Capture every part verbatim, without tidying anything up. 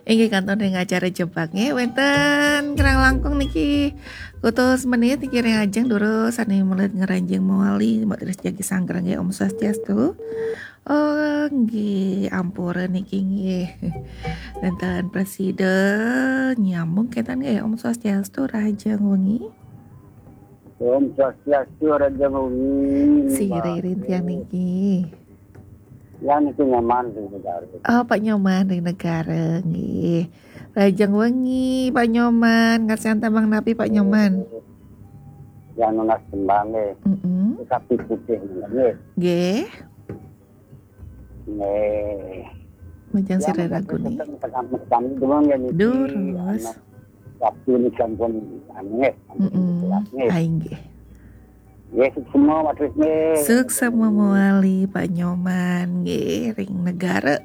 Inggih kantun ring acara Jebak nggih, wénten kirang langkung niki kutus menit niki ring ajeng durus sané melet ngranjing mawali, Mbok Tris jagi sanggra nggih, Om Swastiastu. Oh, nggih, ampura niki nggih. Wénten prasida nyambung kénten nggih, Om Swastiastu, rahajeng wengi. Om Swastiastu, rahajeng wengi. Sira ring tiang niki. Yang niki Nyoman ring Negara. Oh, Pak Nyoman ring Negara, nggih. Rahajeng wengi, Pak Nyoman. Ngarsan tembang napi, Pak Nyoman? Yang nunas tembang nggih. Mm-mm. Sapi putih nggih. Nggih. Nggih. Majeng sira ragune. Kami dulu nggih niki. Durus. Anak Sabtu niki sampun anu nggih, sampun Mm-mm. Telat nggih. Ah, inggih. Nggih, suksma, Mas Wisnu. Suksma mawali, Pak Nyoman, nggih, ring Negara.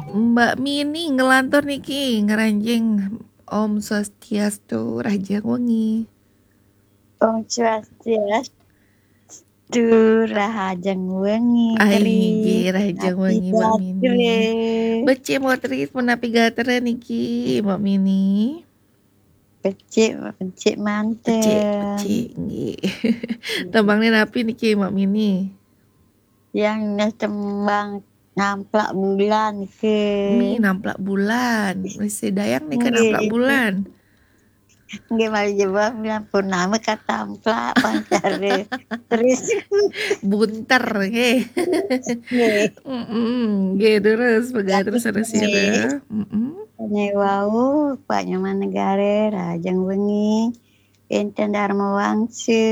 Mbak Mini ngelantur niki, ngranjing Om Swastiastu, rahajeng wengi. Om Swastiastu, rahajeng wengi, Ai, Tri. Nggih, rahajeng wengi, Mbak Mini. Becik, Mbok Tri, punapi gatra niki, Mbak Mini? Becik, becik manten. Becik, becik, nggih. Tembangnya napi niki, Mbak Mini? Yang nunas tembang Namplak Bulan niki. Mi, Namplak Bulan. Wis dayang nika, nggih, Namplak Bulan. Nggih, malih jebak bulan purnama katamplak pancara. Terus bunter nggih. Nggih. Mm-mm. Nggih, terus pegat terus, terus ya, nggih. Mm-mm. Sané wau, Pak Nyoman Negara, rahajeng wengi. Enten Dharma Wangsa.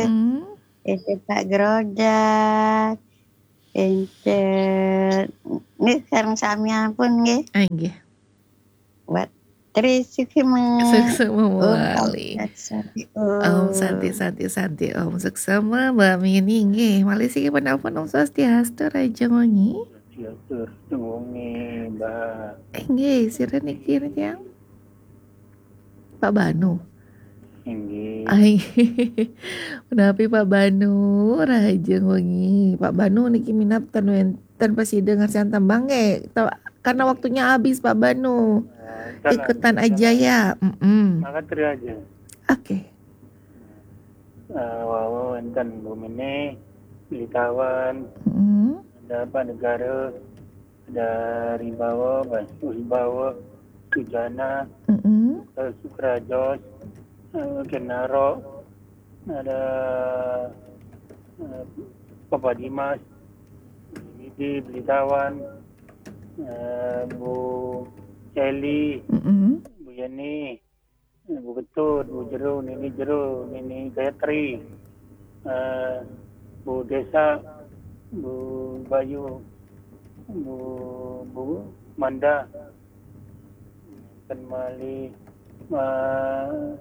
Mm-mm. Enten Pak Grodak. Enten nggih, sareng samian pun nggih. Ah, nggih. Buat Tri Suksma. Suksma mawali. Om Santi Santi Om. Om Santi Santi Santi Om. Suksma, Mbak Mini nggih. Malih siki penelpon, Om Swastiastu, rahajeng wengi. Swastiastu, rahajeng wengi, Mbak. Eh, nggih, sira niki, tiang? Pak Banu. Inggih. Ai, menapi Pak Banu, rahajeng wengi. Pak Banu niki minab ten wénten prasida ngarsan tembang nggih. Ta-, karena waktunya habis, Pak Banu. Eh, ikutan aja ya. Mm-mm. Maka Tri aja. Oke. Eh, wau wénten Bu Mini, Beli Tawan, mm-mm, ada Pak Negara, ada Ribawa, Bas-, Wibawa, Sujana, mm-mm, eh, Sukrajos, eh, Genaro, ada, eh, Papa Dimas, Didi, Beli Tawan, eh, Bu Celi, mm-mm, Bu Yeni, Bu Ketut, Bu Jero, Nini Jero, Nini Gayatri, eh, Bu Desa, Bu Bayu, Bu, Bu Manda, kan malih, eh,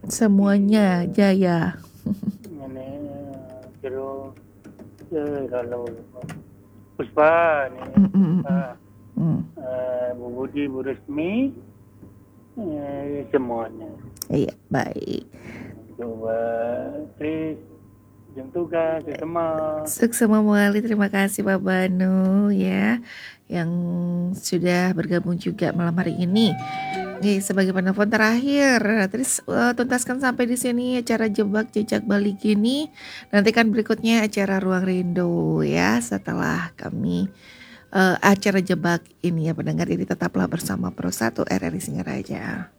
semuanya jaya. Ini, eh, Jero, eh, lalu Puspa, Nini Puspa, mm, mm, mm, mm, eh, Bu Budi, Bu Resmi, eh, semuanya. Iya, baik. Dua, Tri, jeng tugas, semua. Suksma mawali, terima kasih Pak Banu ya, yang sudah bergabung juga malam hari ini. Oke, sebagai penelpon terakhir, Tri, eh, tuntaskan sampai di sini acara Jebak Jejak Bali kini. Nantikan berikutnya acara Ruang Rindu ya, setelah kami, eh, acara Jebak ini ya, pendengar. Jadi tetaplah bersama Pro satu R R I Singaraja.